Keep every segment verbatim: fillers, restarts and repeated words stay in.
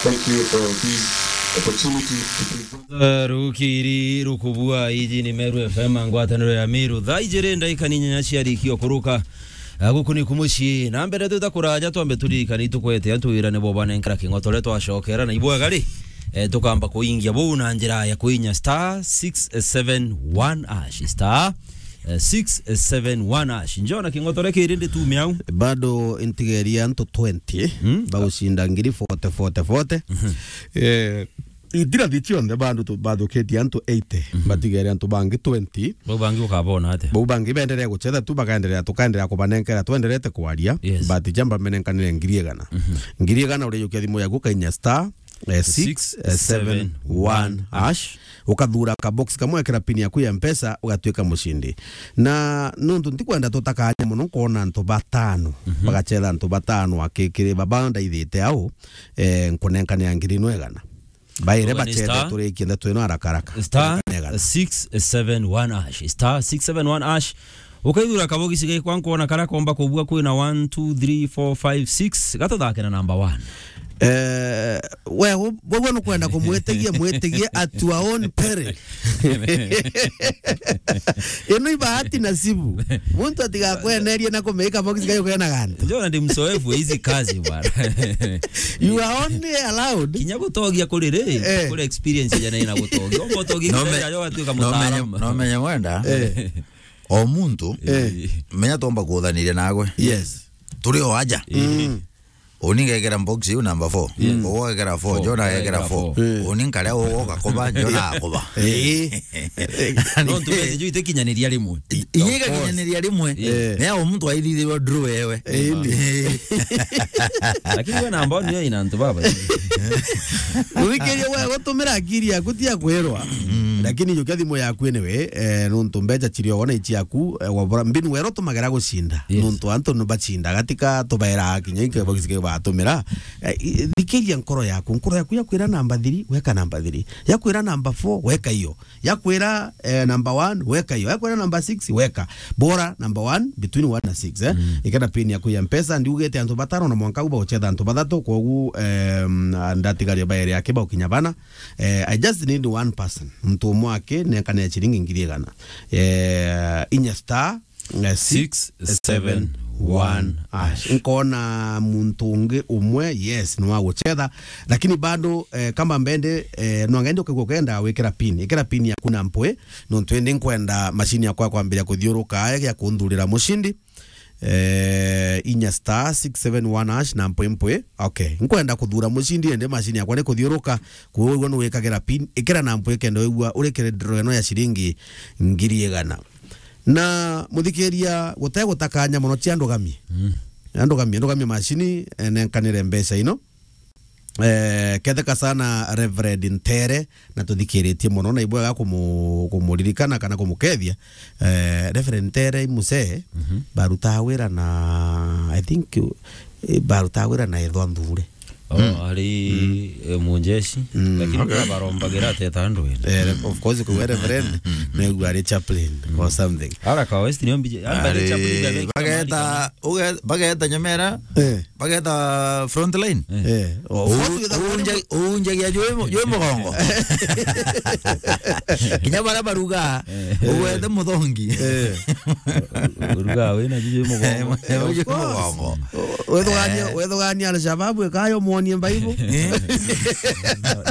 Thank you for this opportunity to present. Eh, rukiri rukubua, iji ni Meru F M, ngwataniro ya Meru. Thaa ijiri ndaika ni inyanya ciarikia kuruka. Ah, guku ni kumucii. Na mbere twita kuraja, twambe turirikane itukwete antu wira nibo banenkera king'otore twacokera na ibwega ri. Eh, tukamba kuingia buu na njira ya kuinya star six seven one hash. Star, eh, six seven one hash. Njona king'otore kiri ndi tume au. Bado ntigeria antu twenty, mm, bagucinda ngiri forty, forty, forty. Mhm. Eh, itirathi cionthe bandu tu-, bathukitie antu eighty. Mhm. Batigere antu bangi twenty. Bau bangi ukabona atia? Bau bangi benderea gucetha tu, bakaenderea, tukaenderea kubanenkera, twenderete kwaria. Yes. But jamba menenkanire ngiri igana. Mhm. Ngiri igana urijukia thimu yaku, kainya star, eh, six seven one hash. Ukathura ka box kamwe, ekera pin yaku ya Mpesa, ugatuika mucindi. Na nuntu ntikwenda tutakanya muno, nkona antu batano, mhm, bagacetha antu batano akikiri baba ndaithite au, eh, nkunenkanira ngiri ino igana. Baire bacethe turikie ndeto ino haraka haraka. Star six seven one hash. Star six seven one hash. Ukaithura kabogisi gekwa nkwona karia komba kubua kwina one, two, three, four, five, six. Gatuthake na number one. Eh, we, u-, we, we nukwenda kumwitigia, mwitigie at your own peril. Ino ibahati nasibu. Muntu atigakwenerie na kumika box kayo kena gantu. Njona ndi mzoefu wa hizi kazi bwana. You are only allowed. Kinya gutogia kuri ri, eh, kuri experience jana ina gutogia. Umba utogia no kinya me-, ajo atuika no menye, mutaalamu. No menye mwenda. Eh. O muntu, eh, menya tomba kuthaniria nagwe. Yes. Turi o aja. Eh. Mm. Uni ngekera box iu number four. Yes. Ugo gekera four, four, Jona gekera four. Four. Eh. Uni nkaria ugo gakuba, Jona akuba. Eh. No ntu message itikinyaniria rimwe. I-, iye igakinyaniria rimwe. Yes. Mea o muntu aithithirwa draw ewe. Eh, indi. Lakini we namba niyo ina antu baba. Uthikirie we gutumira akiri yaku ti ya kwirwa. Mm. Lakini jukia thimu yaku anyway, eh, nuntu mbeca cirio wona ici yaku, eh, wabora mbinu wero tumagera gucinda. Yes. Nuntu antu ni bacinda gatika tubaira kinya inke bagicike batumira. Eh, i-, thikiria nkoro yaku, nkoro yaku yakwira namba three, weka namba three. Yakwira namba four, weka iyo. Yakwira, eh, number one, weka iyo. Yakwira number six, weka. Bora number one, between one na six, eh? Mm. Ikenda pin yaku ya Mpesa, ndiugite antu batano na mwanka uba uchetha antu bathatu, kogu, em, ndatigaria baere yake baukinya bana. Eh, I just need one person. Muntu umwe ake, nenkane ya ciringi ngiri igana. Eh, inya star, eh, six seven one hash. Nkona muntu ungi umwe, yes, ni wa gucetha, lakini bado, eh, kama mbende, eh, no ngende ukigwa ukenda wikira pin. Ikira pin yaku na mpwi, nontu indi nkwenda mashini yakwa kwambiria kuthiuruka, ya kunthurira mucindi. Eh, inya star six seven one hash na mpwi mpwi. Okay, nkwenda kuthura mucindi, indi mashini yakwa ni kuthiuruka, kuugua ni wikagira pin, ikira na mpwi kenda wigua urikire draw ino ya ciringi ngiri igana. Na muthikiria, gute gutakanya mono, cia ndugamie. Mm. Ndugamie, ndugamie mashini, eh, nenkanire mbeca ino. Eh, ketheka sana Reverend Ntere, na tuthikiritie mono, na ibwega kumu-, kumuririkana kana kumukethia. Eh, Reverend Ntere i musee, mhm, barutaa wira na, I think, eh, barutaa wira na ethwa nthure. Oh, mm, ari, mm, eh, munjeshi, mm, lakini okay, barombagira ateta andu wene. Eh, of course, kwa Reverend, mm, mm, na yu ari chaplain, mm, or something. Ara ka West ni ombije, ara ari chaplain, bageta, uge-, bageta Nyamera, eh, bageta front line. Eh. Eh, of course, u-, unja-, unjagia jwi mu-, jwi mugongo. Kinya bara baruga, eh, ugwete muthongi. Eh. Uruga wina jwi mugongo. Jwi mugongo. Wethugania, eh, wethugania Al-Shabaab ikayo muonie Bible. Eh.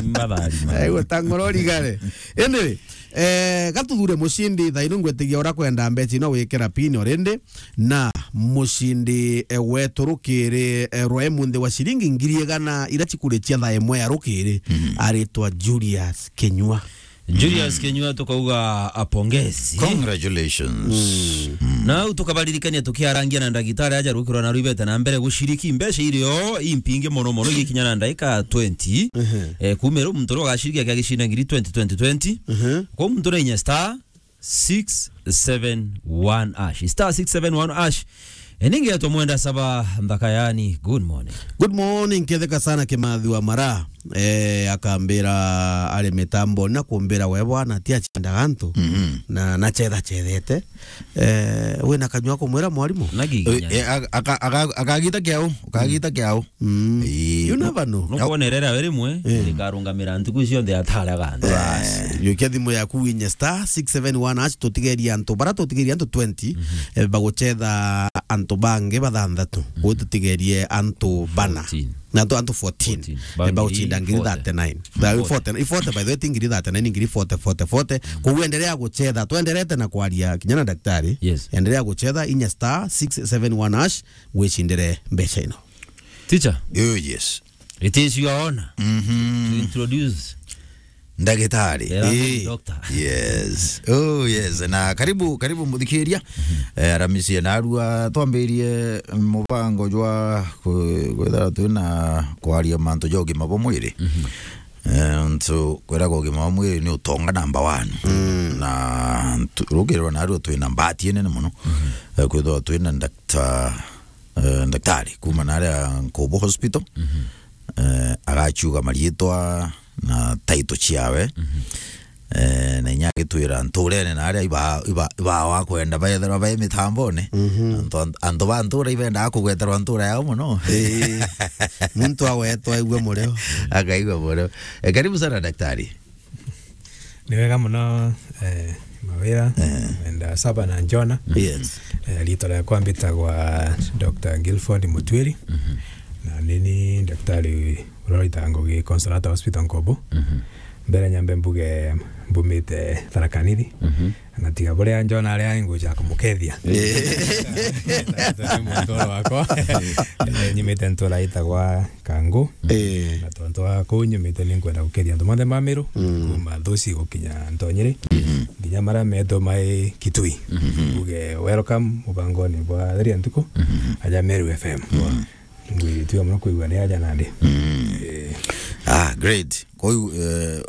Mbathari, man. Aigua ta ngoro rigare. Anyway, eh, gatuthure mucindi thaa ino, ngwetigia ura kwenda mbeca ino wikira pin already, na mucindi, eh, wetu rukiri, eh, rwa imunthi wa ciringi ngiri igana ira cikurikia thaa imwe ya rukiri, mm, aritwa Julius Kinyua. Julius Kinyua, tukauga apongezi. Congratulations. Mm. Mm. Na au tukabaririkania tukiarangia na ndagitari aja rukirwa na rwibete na mbere guciriki mbeca irio impingi mono mono igikinya na ndaika twenty. Mhm. Eh, kumira muntu uria ugaciriki akiagicinda ngiri twenty, twenty, twenty. Mhm. Kwa muntu na inya star six seven one hash. Star six seven one hash. Eh, ningetwa Mwenda Saba Nthaka yani. Good morning. Good morning, ketheka sana Kimathi wa Mara. eh, akambira ari mitamboni na kumbira, "We bwana, ti acindaga antu, Mhm. na, na cetha cethete." Eh, wina kanyua kumwira mwarimu? Na giginya. Eh, eh, aka-, aka-, aka-, akagita kiau, ukagita kiau. Mm. Ii. You never know. Nukwona rera we rimwe, Eh. rikarungamira ntuku cionthe ataraga antu. Bas. Jukia thimu yaku winye star six seven one hash, tutigerie antu, bara tutigerie antu twenty, Mhm. eh, bagucetha antu bangi bathanthatu. Mhm. Gwe tutigerie antu bana. Fourteen. Na antu, antu fourteen. Fourteen. Eh, bagucinda ngiri forty. Thirty-nine. Forty. Forty, i forty, by the way, ti ngiri thirty-nine, ngiri forty, forty, forty. Mm. Koguo endelea gucetha. Twenderete na kwaria kinya na daktari. Yes. Endelea gucetha, inya star six seven one hash, wicindire mbeca ino. Teacher? Oh, yes. It is your honor Mhm. to introduce Ndagitari. The Reverend Eh. Doctor. Yes. Oh, yes. Na karibu, karibu muthikiria. Eh, Aramisi ya narua twambirie mubango jwa ku-, kwithira twina kwaria mantu ja ugima bwa mwiri. Mhm. Eh, ntu kwiraga ugima bwa mwiri ni utonga number one. Mm. Na ntu-, rukirwa narua twina mbati nene muno. Mhm. Eh, kwithirwa twina ndakta-, eh, ndaktari kuma naria Nkubu Hospital. Mhm. Eh, agaciuga mariitwa na title ciawe. Mhm. Eh, na inya agitwira nturene na aria iba, iba, iba wa kwenda bethirwa bai mitambone. Mhm. Antu, antu ba ntura ibendaga kugweterwa ntura yao muno. Eh, muntu agwetwa aigue murio. Akaigua murio. Eh, karibu sana daktari. Ni wega muno, eh, Mawira, Eh. Mwenda Saba na Njona. Yes. Eh, riitwa riakwa mbitagwa Doctor Guilford Mutwiri. Mhm. Na nini daktari uria uritaga ngugi Consolata Hospital Nkubu. Mhm. Mbere nyambe mbuge mbumite Tharaka Nithi. Mhm. Na tiga buria Njona aria nguja kumukethia. Eh. Ni muntu wakwa. Eh, nyumite ntura itagwa Kangu. Eh. Na tontu wa kuu nyumite, ni nkwenda gukethia antu monthe ma Meru, Mm. kuma Thuci gukinya Ntonyiri, Mhm. nginya maria metwe mai Kitui. Mhm. Mbuge welcome mubangoni bwa Theria Ntuku, Mhm. aja Meru F M. Mhm. Ngwiritie muno kwigua ni aja nandi. Mm. Eh. Ah, great. Kwa hiyo, eh,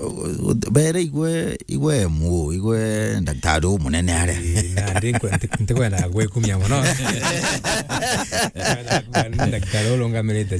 bere igwe, igwe emu, igwe ndaktari umunene aria. Eh, nandi nkwe-, nti-, ntikwenda gwikumia muno. Ndaktari urungamirite